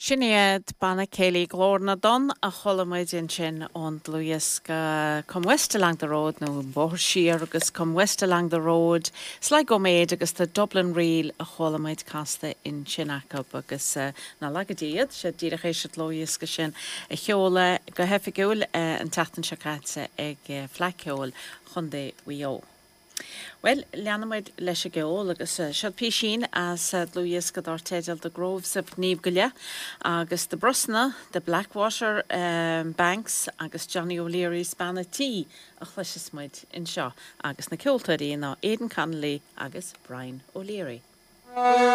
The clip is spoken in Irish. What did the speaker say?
Sin iad Banna Céilí Glór na dTonn a chuala muid ansin ón dlúthdhiosca Come West Along the Road nó An Bóthar Siar agus Come West Along the Road, Sligo Maid agus The Dublin Reel a chuala muid casta ansin acu agus nach laga Dia iad, siad díreach théis an dlúthdhiosca sin a sheoladh go hoifigiúil an tseachtain seo caite ag Fleadh Cheoil Chontae Mhaigh Eo. Bhuel, leanfaidh muid leis an gceol agus seo písín as dlúthdhiosca dar teideal The Groves of Gneeveguilla agus The Brosna, The Blackwater Banks agus Johnny O'Leary's Bean a' Tí a chloisfeas muid anseo agus na ceoltóirí ná Aidan Connolly agus Brian O'Leary.